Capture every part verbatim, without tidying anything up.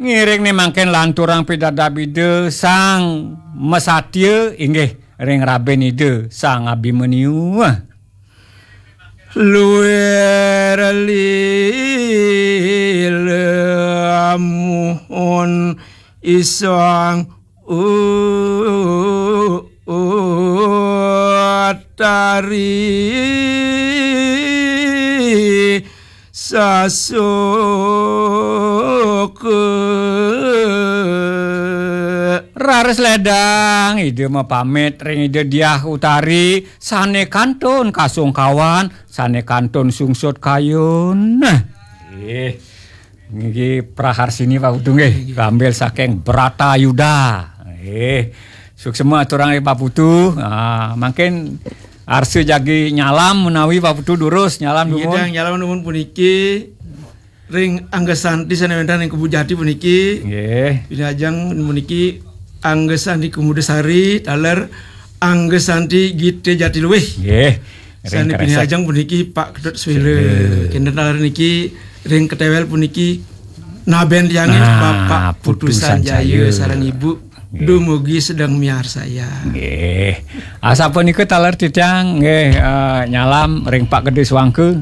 Ngiring ni mangkin lanturang pidabdab Ida Sang Masatya, inggih ring rabiné Ida Sang Abimanyu. Luir lila muhun isang u-, utari sasoka. Raris ledang Ida mapamit ring Ida Diah Utari, sané kantun kasungkawan, sané kantun sungsut kayun. Nah. Eh, niki praharsini Pak Putu nggih, nggih, ngambil saking Bratayuda. Eh, suksma aturang ring Pak Putu. Ah, mangkin arsa jagi nyalam menawi Pak Putu durus nyalam. Nggih, dumun. Dang, nyalam dumun puniki ring Angga Santi sané wénten ring Kebun Jati puniki. Nggih. Pinajeng puniki Angga Santi Kumudasari, taler Angga Santi Gita Jati Luwih. Nggih. Ring sané kresek. Pinajeng puniki Pak Ketut Swela. Swela. Kénten taler niki ring ketéwél puniki nabén tiangé, nah, Bapak Putu Putu Sanjaya. Sanjaya sareng Ibu. Nggih. Dumugi sedeng miarsayang. Nggih. Asapunika taler titiang nggih, eh, nyalam ring Pak Gedé Swangka,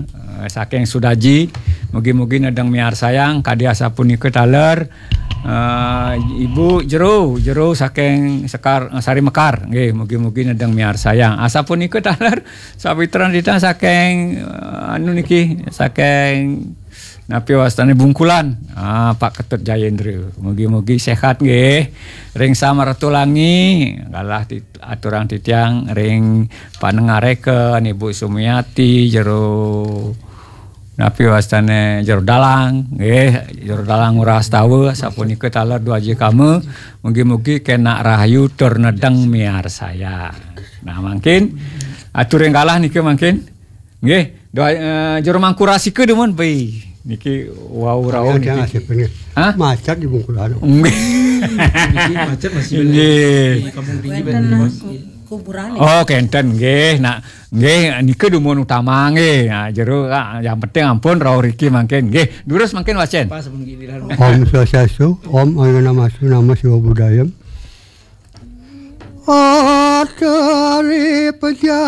eh, saking Sudaji. Mugi-mugi nedeng miarsayang kadi asapunika taler, eh, Ibu Jero, Jero saking Sekar, eh, Sari Mekar. Nggih, mugi-mugi nedeng miarsayang. Asapunika taler sawitran titiang saking, eh, anu niki, saking napi wastané Bungkulan. Ah, Pak Ketut Jayendra. Mugi-mugi séhat nggih. Ring Sam Ratu Langi, galah ti-, aturang titiang ring panengareka Ibu Sumiati, Jero napi wastané Jero Dalang, nggih, Jero Dalang Ngurastawa, sapunika taler Dwaji Kama, mugi-mugi kénak rahayu tur nedeng miarsayang. Nah, mangkin aturing galah nika mangkin. Nggih, doa, eh, Jero Mangku Rasika dumun, bai. Niki wau rauh niki. Hah? Macet di Bungkulan. Nggih. Niki macet masih. Nggih. Di Kampung Tinggi. Wénten, Mas, kuburan. Oh, kénten nggih. Nah, nggih nika dumun utama nggih. Nah, Jero, ah, yang penting ampun rauh riki mangkin. Nggih, durus mangkin wacén. Pas pun giliran. Om Swastiastu, Om Awighnamastu Namo Siwa Buddhaya. Atari Pejah.